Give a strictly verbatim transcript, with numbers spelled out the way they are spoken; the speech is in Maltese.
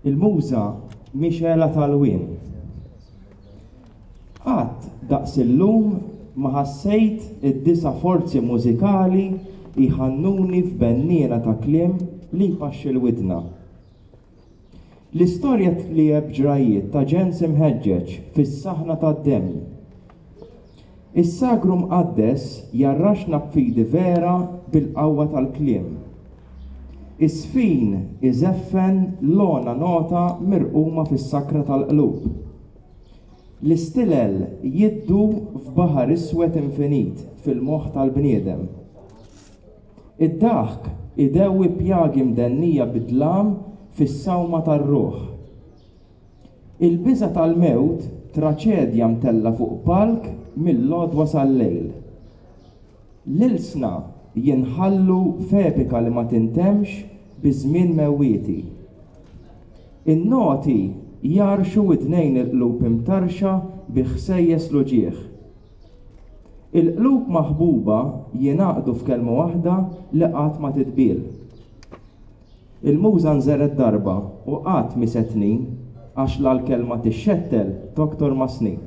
Il-muża mixgħela tal-wien. Qatt daqs illum ma ħassejt id-disa' forzi mużikali jħannuni f'benniena ta' kliem li jpaxxi l-widna. L-istorja tliegħeb ġrajiet ta' ġens imħeġġeġ fis-saħna tad-demm. Is-sagru mqaddes jgħarraxna b'fidi vera bil-qawwa tal-kliem. Is-sfin iżeffen l-ogħna nota mirquma fis-sakra tal-qlub. L-istilel jiddu f'baħar iswed infinit fil-moħħ tal-bniedem. Id-daħk idewwi pjagi mdennija bid-dlam fis-sawma tar-ruħ. Il-biża' tal-mewt traċedja mtella' fuq palk mill-għodwa sal-lejl. L-ilsna jinħallu f'epika li ma tintemx bi żmien mewwieti. In-noti jgħarrxu widnejn il-qlub imtarrxa bi ħsejjes l-uġigħ. Il-qlub maħbuba jingħaqdu f'kelma waħda li qatt ma titbiel. Il-muża nżergħet darba u qatt mhi se tnin, għax la l-kelma tixxettel toktor mas-snin.